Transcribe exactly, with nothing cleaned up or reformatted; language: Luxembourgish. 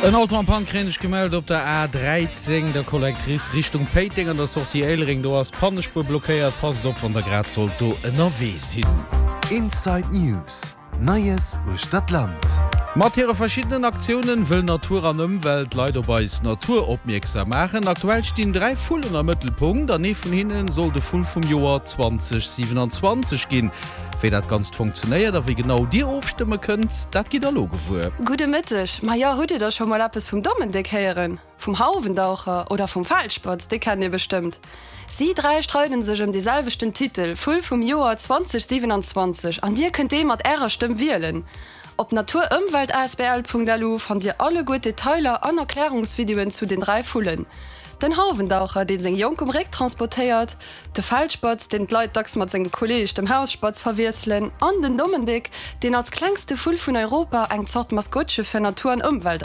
En Auto en panne kréien ech gemellt op der A dräizéng, der Collectrice Richtung Péiteng an der Sortie Éilereng. Do ass d'Pannespuer blockéiert. Passt op wann der grad sollt do ënnerwee sinn. Inside News, Neies uechter d'Land. Mat hire verschiddenen Aktiounen wëll Natur an Ëmwelt d'Leit op eis Natur opmierksam maachen. Aktuell stinn dräi Vullen am Mëttelpunkt an ee vun hinne soll de Vull vum Joer zwanzeg siewenanzwanzeg ginn. Wéi dat Ganzt funktionéiert a wéi genau Dir ofstëmme kënnt, dat gitt der elo gewuer. Gudde Mëtteg, Majo, hutt Dir da scho mol eppes vum Dommendéck héieren? Vum Hauwendaucher oder vum Feldspatz, déi kennt Dir bestëmmt. Si dräi streiden sech ëm dee selwechten Titel, Vull vum Joer zwanzeg siewenanzwanzeg an Dir kënnt dee mat Ärer Stëmm wielen. Op naturëmweltasbl.lu fannt Dir alleguer d'Detailer an Erklärungsvideoen zu den dräi Vullen. Den Hauwendaucher, dee seng Jonk um Réck transportéiert, de Feldspatz, deen d'Leit dacks mat sengem Kolleeg, dem Hausspatz, verwiesselen, an den Dommendéck, deen als klengste Vull vun Europa eng Zort Maskottche fir Natur an Ëmwelt ass.